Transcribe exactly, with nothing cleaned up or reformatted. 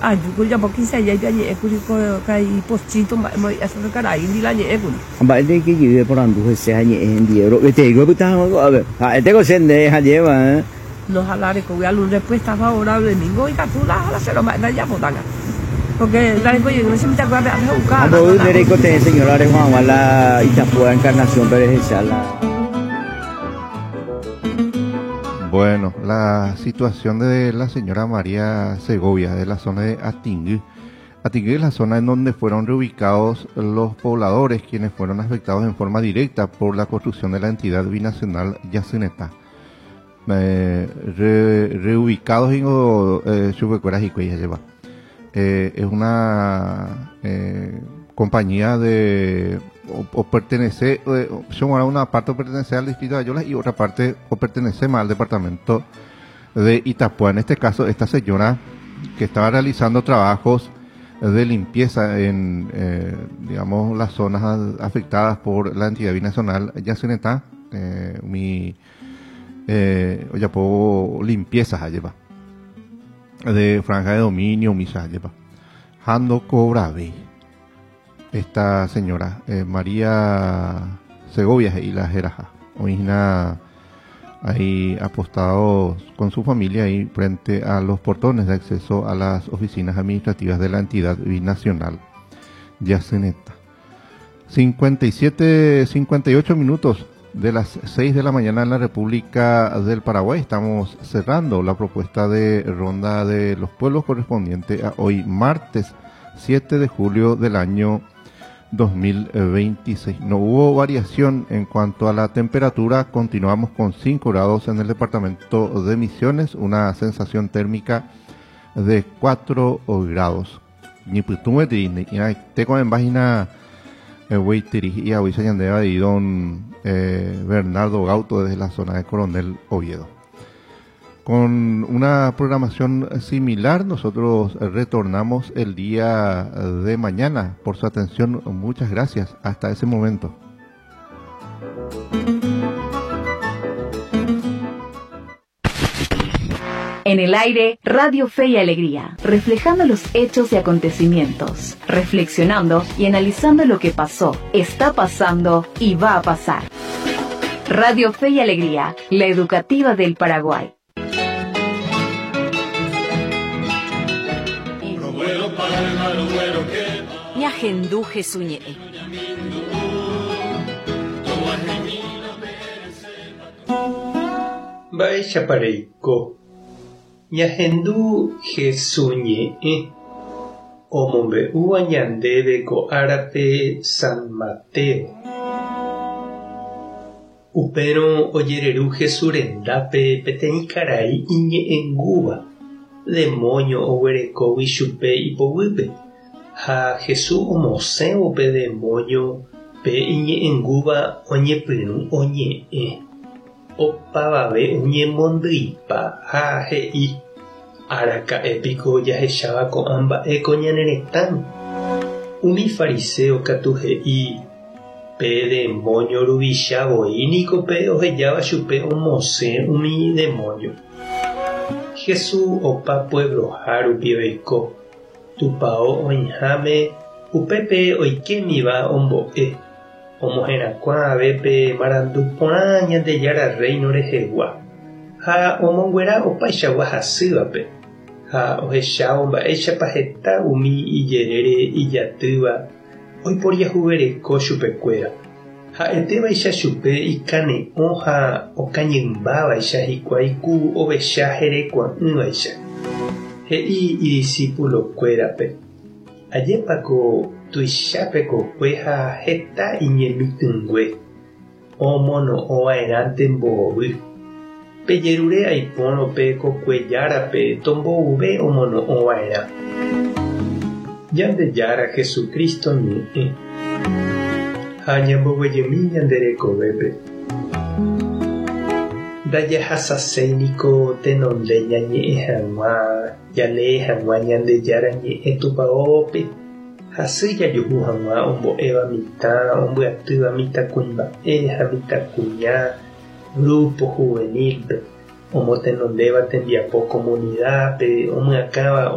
Ajúkuri japo quince días añe'ẽkuri ko karai Pochito mba'e karaíndi la ñe'ẽkuri. Mba'e ndeikéjey eporandu hese ha ñe'ẽ hendie ro'eteíko epyta hag̃ua ko'ápe ha'etéko che nde hajéva, eh. No ha la rekógui algún respuesta favorable ningo ikatu la ha la che romba'e ndajapotanga porque ndarekojey che mitãkuérape ápe ho'uka. Ha mboy nde reikotevẽ señora reho hag̃ua la Itapúa Encarnación-pe rehecha la. Bueno, la situación de la señora María Segovia, de la zona de Atingui. Atingui es la zona en donde fueron reubicados los pobladores quienes fueron afectados en forma directa por la construcción de la entidad binacional Yacyretá. Eh, re, reubicados en eh, Chupecueras y Cuellas lleva. Eh, es una eh, compañía de o, o pertenece, eh, son una parte pertenece al distrito de Ayolas y otra parte o pertenece más al departamento de Itapúa. En este caso, esta señora que estaba realizando trabajos de limpieza en, eh, digamos, las zonas afectadas por la entidad binacional Yacyretá, eh, mi eh, ojapo limpieza lleva de franja de dominio, misa lleva. Jando cobra esta señora, eh, María Segovia y la Jeraja, origina ahí apostados con su familia ahí frente a los portones de acceso a las oficinas administrativas de la entidad binacional Yacyretá. cincuenta y siete, cincuenta y ocho minutos de las seis de la mañana en la República del Paraguay. Estamos cerrando la propuesta de Ronda de los Pueblos correspondiente a hoy martes siete de julio del año dos mil veintiséis. No hubo variación en cuanto a la temperatura, continuamos con cinco grados en el departamento de Misiones, una sensación térmica de cuatro grados. Ñipytũme ni teco en página Weiteri y Avisa Ñandeva y don eh, Bernardo Gauto desde la zona de Coronel Oviedo. Con una programación similar, nosotros retornamos el día de mañana. Por su atención, muchas gracias. Hasta ese momento. En el aire, Radio Fe y Alegría, reflejando los hechos y acontecimientos, reflexionando y analizando lo que pasó, está pasando y va a pasar. Radio Fe y Alegría, la educativa del Paraguay. Ñahendu Jesús ñe'ẽ. Mba'éichapa reiko. Ñahendu Jesús ñe'ẽ. Omombe'úva ñandéve ko árape San Mateo. Upérõ ojereru Jesús rendápe peteĩ karai iñe'ẽngúva, demonio oguerekógui chupe ipoguýpe. Ha Jesús omosẽvo pe demonio pe iñe'ẽngúva oñepyrũ oñe'ẽ. Opavave oñemondýipa ha he'i araka'épiko jahecháva ko'ã mba'e ko ñane retãme. Umi fariseo katu he'i pe demonio ruvicha voi niko pe ohejáva chupe omosẽ umi demonio. Jesús opa puebloha rupi oiko. Tupão oĩháme upépe oikémiva ombo'e. Omoherakuã pe marandu porã Ñandejára reino rehegua ha omonguera opaichagua hasývape ha ohechávo mba'éichapa heta umi ijerére ijatýva oiporiahuvereko chupekuéra. Ha'etévaicha chupe ikane'õ ha okañymbávaicha hikuái ku ovecha herekua'ỹvaicha. He'i idiscipulokuérape ajépako tuichápe kokue ha heta iñemitỹngue omono'õva'erãnte mbovy. Pejerure aipórõ pe kokuejárape tombouve omono'õva'erã. Ñandejára Jesucristo ñe'ẽ ha ñamboguejymi ñande rekovépe. Ndajahasaséi niko tenonde ñañe'ẽ hag̃ua jalee hag̃ua Ñandejára ñe'ẽ tupãópe. Hasy jajuhu hag̃ua ombo'éva mitã, ombyatýva mitãkuimba'e ha mitãkuña grupo juvenil-pe, omotenondéva tembiapo comunidad-pe, omyakãva